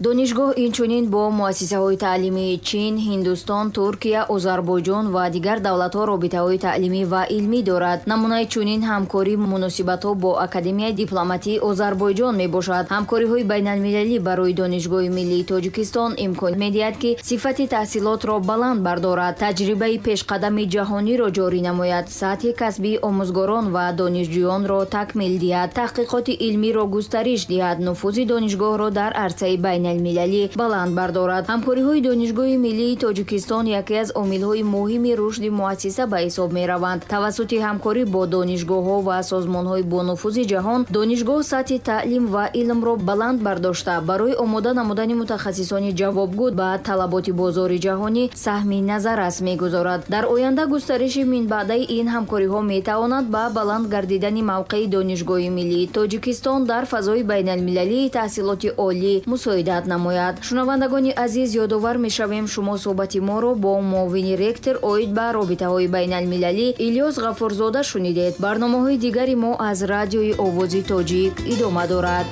Донишгоҳ инчунин бо муассисаҳои таълимии Чин, Ҳиндустон, Туркия, Озарбойҷон ва дигар давлатҳо робитаҳои таълимӣ ва илмӣ дорад. Намунаи чунин ҳамкорӣ муносибатҳо бо Академияи дипломатии Озарбойҷон мебошад. Ҳамкориҳои байналмилалӣ барои Донишгоҳи миллии Тоҷикистон имкон медиҳад, ки сифати таҳсилотро баланд бардорад, таҷрибаи пешқадами ҷаҳониро ҷорӣ намояд, сатҳи касбии омӯзгорон ва донишҷӯёнро такмил диҳад, таҳқиқоти илмиро густариш диҳад, нуфузи донишгоҳро дар арсаи байналмилалӣ баланд бардорад. Ҳамкориҳои Донишгоҳи миллии Тоҷикистон яке аз омилҳои муҳими рушди муассиса ба ҳисоб мераванд. Тавассути ҳамкорӣ бо донишгоҳҳо ва созмонҳои бонуфузи ҷаҳон донишгоҳ сатҳи таълим ва илмро баланд бардошта, барои омода намудани мутахассисони ҷавобгӯ ба талаботи бозори ҷаҳонӣ саҳми назаррас мегузорад. Дар оянда густариши минбаъдаи ин ҳамкориҳо метавонад ба баланд гардидани мавқеи Донишгоҳи миллии Тоҷикистон дар фазои байналмилалии таҳсилоти олӣ мусоидат намояд. Шунавандагони азиз, ёдовар мешавем, шумо суҳбати моро бо муовини ректор оид ба робитаҳои байналмилалӣ Илёс Ғафурзода шунидед. Барномаҳои дигари мо аз радиои Овози Тоҷик идома дорад.